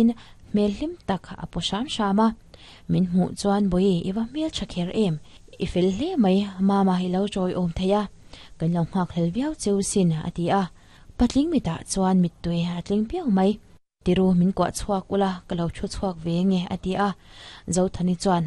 In hmel hlim tak a pu hram hram a, min hmuh chuan Bawihi i va hmel tha kher em? I fel hle mai, Mama i lo chawi awm thei a, kan lo nghak hlel viau cheu sin a ti a, patling mitah chuan mittui a tling piau mai. Tiru min kuah chhuak ula ka lo thu chhuak ve nge a ti a, Zothani chuan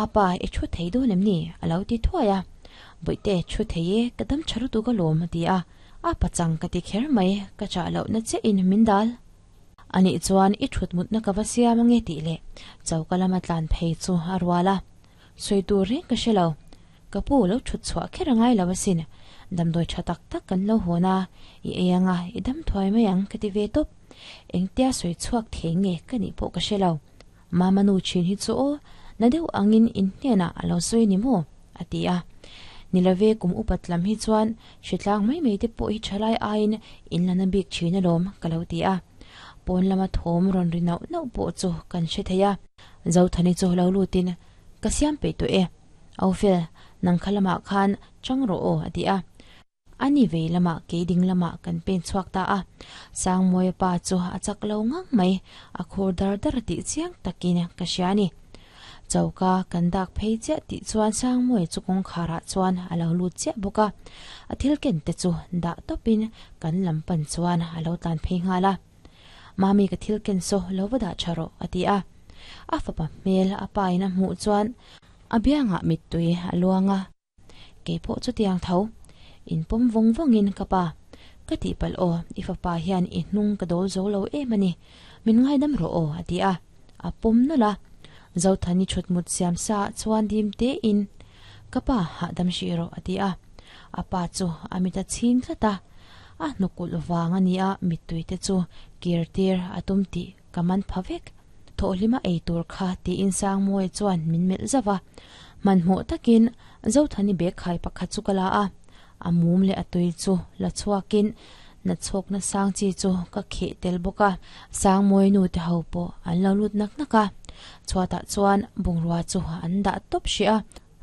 Apa i thu thei dawn em ni? a lo ti thuai a, Bawihte thu thei e, ka dam tha lutuk alawm a ti a, a pachang ka ti kher mai, ka chah lohna chiahin min dal. Anih chuan i thut mutna ka va siam ange tih leh choka lama tlan phei chu a rual a. Sawi tur reng ka hre lo. Ka pu lo thut chhuah kher a ngai lo asin. Damdawi tha tak tak kan lo hawn a, i ei anga i dam thuai mai ang ka ti ve tawp. Engtia sawi chhuak thei nge ka nih pawh ka hre lo. Mama nu thin hi chu aw, na deuh angin in hnenah a lo sawi ni maw? a ti a. Nilove kum upat lam hi chuan hritlang mai mai te pawh hi thalai aiin in la na bik thin alawm ka lo ti a. Pawn lama thawm rawn ri nauh nauh pawh chu kan hre thei a. Zothani chu lo lutin, Ka siam peih tawh e. Aufel, nang kha lamah khan chang rawh aw a ti a. A ni vei lamah kei ding lamah kan pen chhuak ta a, Sangmawia pa chu a chak lo ngang mai, a khur dar dar tih chiang takin ka hria a ni. Choka kan dak phei chiah tih chuan Sangmawia chu kawngkharah chuan a lo lut chiah bawk a, a thil ken te chu dah tawpin kan lam pan chuan a lo tlan phei nghal a. Mami ka thil ken saw lo va dah tha rawh a ti a, a fapa hmel a pa in a hmuh chuan a biangah mittui a luang a. Kei pawh chutiang tho. In pawm vawng vawngin ka pa, ka tihpalh aw, i fapa hian i hnung ka dawl zo lo em a ni, min ngaidam rawh aw a ti a, a pawm nawlh a. Zothani thutmut siam sa ah chuan dim tein, Ka pa, hahdam hrih rawh a ti a. A pa chu a mit a chhing tlat a, a hnukulh vang a nia mittui te chu kir tir a tum tih ka man pha vek. Thawhhlima ei tur kha tiin Sangmawia chuan min melh zauh a. Hmanhmawh takin Zothani bag khai pakhat chu ka la a, a mum leh a tui chu la chhuakin nachhawkna sang chi chu ka kheh tel bawk a. Sangmawia nu te ho pawh an lo lut nak nak a, chhuatah chuan bungrua chu an dah tawp hrih a.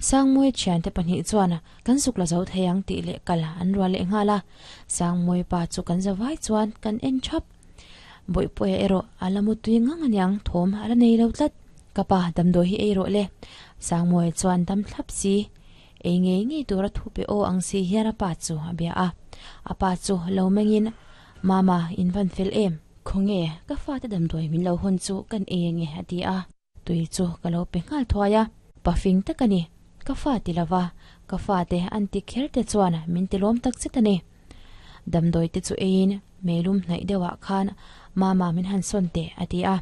Sangmawia thiante pahnih chuan kan zuk la zo thei ang tih leh kal an rual leh nghal a, Sangmawia pa chu kan zavai chuan kan en thap. Bawihpuia erawh a la mutui ngang aniang thawm a la nei lo tlat. Ka pa damdawi hi ei rawh le. Sangmawia chuan dam thlap si. Ei ngei ngei tura thu pe aw ang si hian a pa chu a bia a. A pa chu lo mengin, Mama, in van fel em? Khawnge, ka fate damdawi min lo hawn chu kan ei ange a ti a. Tui chu ka lo pe nghal thuai a, pa fing tak a ni. Ka fa ti lova, ka fate an ti kher te chuan min ti lawm tak zet a ni. Damdawi te chu eiin meilum hnaih deuhah khan Mama min han sawn teh a ti a.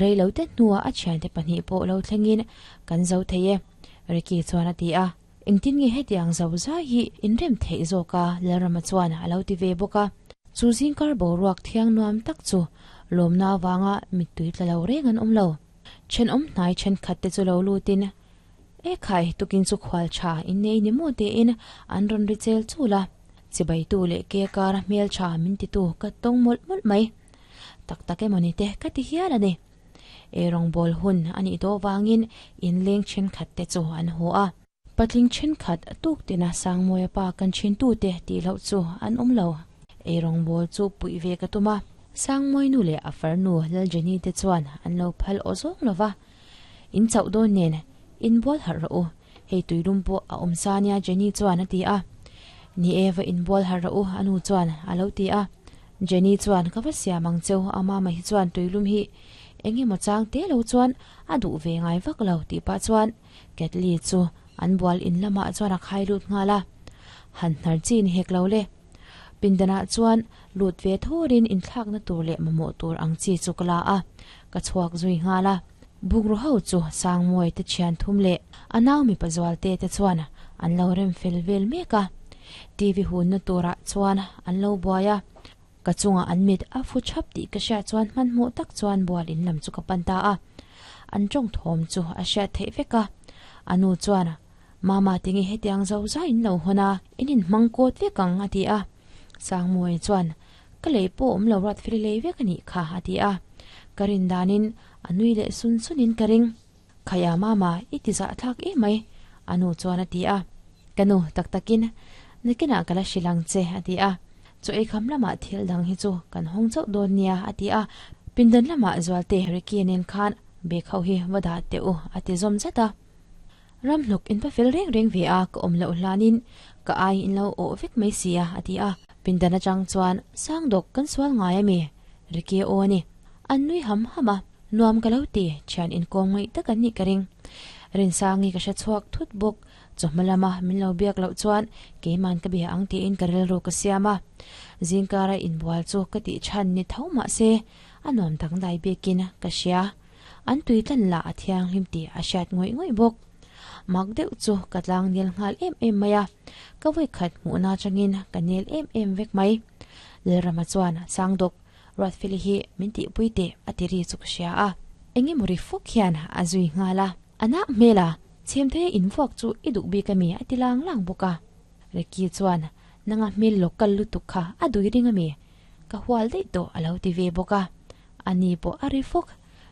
Rei lo te hnuah a thiante pahnih pawh lo thlengin kan zo thei e, Ricky chuan a ti a. Engtin nge hetiang zo zai hi inrem theih zawk a Lalrama chuan a lo ti ve bawk a. Chu zingkar boruak thiang nuam tak chu lawmna avanga mittui tla lo reng an awm lo. Thenawm hnai thenkhat te chu lo lutin, E khai, tukin chu khual tha in nei ni maw tiin an rawn ri chel chul a. Chibaitu leh ke kara hmel tha min titu ka tawng mawlh mawlh mai. Tak tak emaw ni te ka ti hial a ni. Eirawngbawl hun a nih tawh vangin inleng thenkhat te chu an haw a. Patling thenkhat tuk tina Sangmawia pa kan thintute tih loh chu an awm lo. Eirawngbawl chu puih ve ka tum a, Sangmawia nu leh a farnu Laljeni te chuan an lo phal aw zawng lo va. In chauh dawn nen inbual harh rawh u, hei tuilum pawh a awm sa nia Jenny chuan a ti a. Ni e va inbual harh rawh u a nu chuan a lo ti a. Jenny chuan ka va siam ang cheu a mama hi chuan tuilum hi eng emaw chang te lo chuan a duh ve ngai vak lo tih pah chuan Ketli chu an bual in lamah chuan a khai lut nghal a. Han hnar chi ni hek lo le. Pindanah chuan lut ve thurin inthlakna tur leh mamawh tur ang chi chu ka la a, ka chhuak zui nghal a. Bukru ho chu Sangmawi te thian thum leh a nau mipa zualte te chuan an lo rem fel vel mek a. TV hunna turah chuan an lo buai a, ka chungah an mit a fu chhap tih ka hriat chuan hmanhmawh tak chuan bual in lam chu ka pan ta a. An tawng thawm chu a hriat theih vek a, a nu chuan Mama tinge hetiang zo zai in lo hawn a, in inhmang kawt vek ang a ti a. Sangmawia chuan, Ka lei pawh awm lo rat fel lei vek a nih kha a ti a. Ka rin danin a nui leh sun sunin ka ring. Khaia mama i ti zah thlak em mai a nu chuan a ti a. Ka nu tak takin nakinah ka la hrilh ang che a ti a. Chaw eikham lamah thil dang hi chu kan hawng chauh dawn nia a ti a. Pindan lamah Zualte Ricky nen khan bag ho hi va dah teh u a ti zawm zat a. Ramhluk in va fel reng reng ve a, ka awm loh hlanin ka ai in lo awh vek mai si a a ti a. Pindan atang chuan Sangdawk kan sual ngai a mi? Ricky aw a ni. An nui ham ham a, nuam ka lo ti, thian inkawm ngaih tak an nih ka ring. Rinsangi ka hre chhuak thut bawk, chawhma lama min lo biak loh chuan keiman ka bia ang tiin ka rilru ka siam a. Zingkara inbual chu ka tih chhan ni tho mah se, a nuam dangdai bikin ka hria. An tui tlan lah a thianghlim tih a hriat ngawih ngawih bawk. Mak deuh chu ka tlang nel nghal em em mai a, ka vawikhat hmuhna atangin ka nel em em vek mai. Lalrama chuan Sangdawk Ruatfeli hi min tihpui teh a ti ri chu ka hria a. Engemaw ri fuk hian a zui nghal a. A nak hmel a, chhemthei invuak chu i duh bik ami a ti lang lang bawk a. Ricky chuan, Nanga hmel local lutuk kha a dui ring ami? Ka hual daih tawh a lo ti ve bawk a. Ani pawh a ri fawk,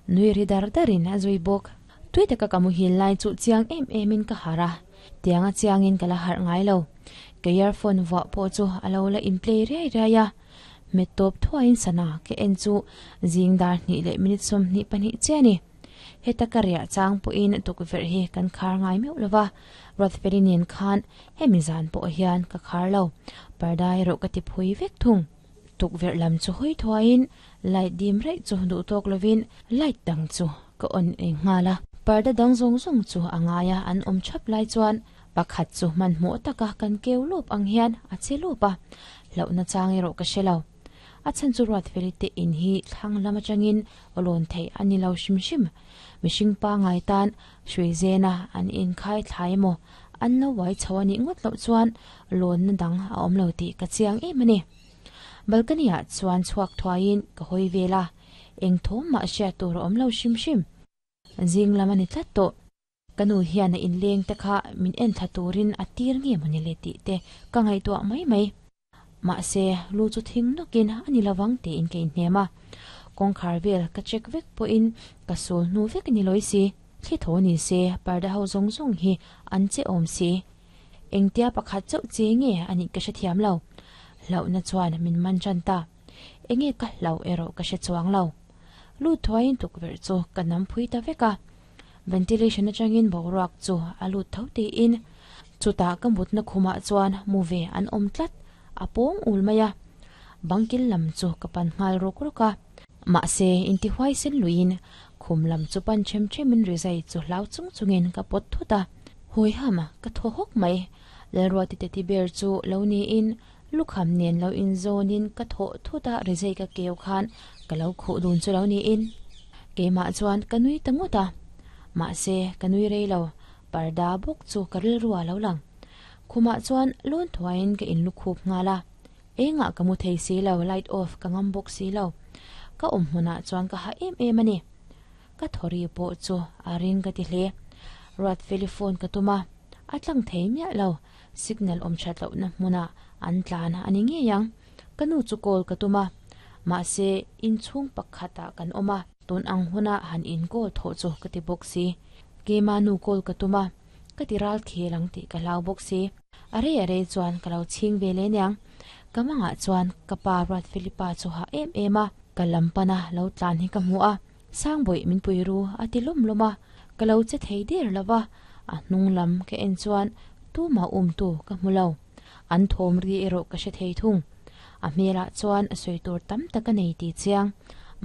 nui ri dar darin a zui bawk. Tui taka ka muhil lai chu chiang em emin ka harh a, tianga chiangin ka la harh ngai lo. Ka earphone vuah pawh chu a lo la in play riai riai a. Hmet tawp thuaiin sana ka en chu zing dar hnih leh minute 22 chiah a ni. Heta ka riah chang pawhin tukverh hi kan khar ngai meuh lo va, Ruatfeli nen khan hemi zan pawh hian ka khar lo, parda erawh ka ti phui vek thung. Tukverh lam chu hawi thuaiin light dim raih chu duh tawk lovin light dang chu ka on eng nghal a. Parda dang zawng zawng chu a ngai a, an awm thap lai chuan pakhat chu hmanhmawh taka kan keu lawp ang hian a che lawp a, hlauhna chang erawh ka hre lo. A chhan chu Ruatfeli te in hi thlang lam atangin lawn theih a ni lo hrim hrim. Mihring pangngai tan hrui zena an inkhai thlai emaw an lo uai chho a nih ngawt loh chuan lawnna dang a awm lo tih ka chiang em a ni. Balcony ah chuan chhuak thuaiin ka hawi vel a, eng thawm mah hriat tur a awm lo hrim hrim. Zing lam a ni tlat tawh. Ka nu hian a inleng te kha min en thla turin a tir nge mawni le tih te ka ngaihtuah mai mai. Mahse, lu chu thing nawkin a ni lovang tiin ka inhnem a. Kawngkhar vel ka check vek pawhin ka sul hnu vek a ni lawi si. Thli tho ni se, parda ho zawng zawng hi an che awm si. Engtia pakhat chauh che nge a nih ka hrethiam lo. Hlauhna chuan min man tan ta. Enge ka hlauh erawh ka hre chuang lo. Lu thuaiin tukverh chu ka nam phui ta vek a. Ventilation atangin boruak chu a lut tho tiin chutah ka mutna khumah chuan mu ve an awm tlat, a pawng ul mai a. Bangkil lam chu ka pan nghal rawk rawk a. Mahse, intihuai sen luiin khum lam chu pan them themin rizai chu hlau chung chungin ka pawt thut a. Hawiham ka thaw hawk mai. Lalruati teti ber chu lo niin lukham nen lo inzawnin ka thawh thut a, rizai ka keu khan ka lo khuh dun chu lo niin keimah chuan ka nui ta ngawt a. Mahse, ka nui rei lo, parda bawk chu ka rilru a lo lang. Khumah chuan lawn thuaiin ka inlukhup nghal a, engah ka mu thei si lo, light off ka ngam bawk si lo. Ka awm hmunah chuan ka hah em em a ni. Ka thawri pawh chu a ring ka ti hle. Ruatfeli phone ka tum a, a tlang thei miah lo. Signal awm that lohna hmunah an tlan a ni ngei ang. Ka nu chu call ka tum a, mahse inchhung pakhatah kan awm a, tun ang huna han in call thawh chu ka ti bawk si. Keima nu call ka tum a, ka ti ral khel ang tih ka hlau bawk si. A rei a rei chuan ka lo chhing ve leh aniang. Ka mangah chuan ka pa Ruatfelipa chu hah em em a, ka lam pana lo tlan hi ka hmu a. Sangbawih min pui ru a ti lawm lawm a, ka lo che thei der lo va, a hnung lam ka en chuan tumah umtu ka hmu lo. An thawm ri erawh ka hre thei thung. A hmelah chuan sawi tur tam tak a nei tih chiang.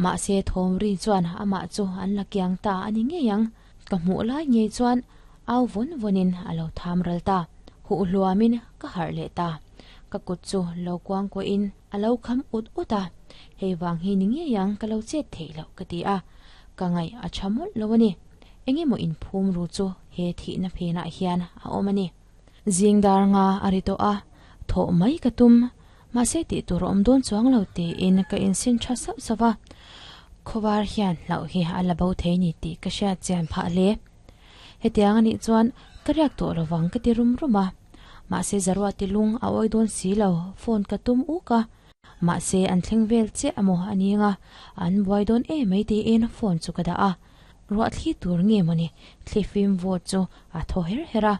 Mahse thawm ri chuan amah chu an la kiang ta a ni ngei ang. Ka hmuh lai ngei chuan au vawn vawnin a lo tham ral ta. Huh hluamin ka harh leh ta. Ka kut chu lo kuang kuahin a lo kham ut ut a, hei vang hi ni ngei ang ka lo chet theih loh ka ti a, ka ngaih a tha mawlh lo a ni. Engemaw inphum ru chu he thihna phenah hian a awm a ni. Zing dar nga a ri tawh a, thawh mai ka tum, mahse tih tur a awm dawn chuang lo tiin ka insin tha sauh sauh a, khawvar hian hlauh hi a la bo thei ni tih ka hriat chian phah hle. Hetiang a nih chuan ka riak tawh lovang ka ti rum rum a. Mahse Zaruati lung a awi dawn si lo, phone ka tum uk a. Mahse an thleng vel chiah emaw a ni anga, an buai dawn em mai tiin phone chu ka dah a. Ruah thli tur nge mawni thli fim vawt chu a thaw her her a.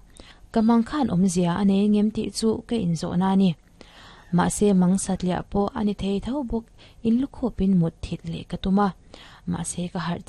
Ka mang khan awmzia a nei ngem tih chu ka inzawhna a ni. Mahse mang satliah pawh a ni thei tho bawk, in lukhupin mut thit leh ka tum a, mahse ka harh.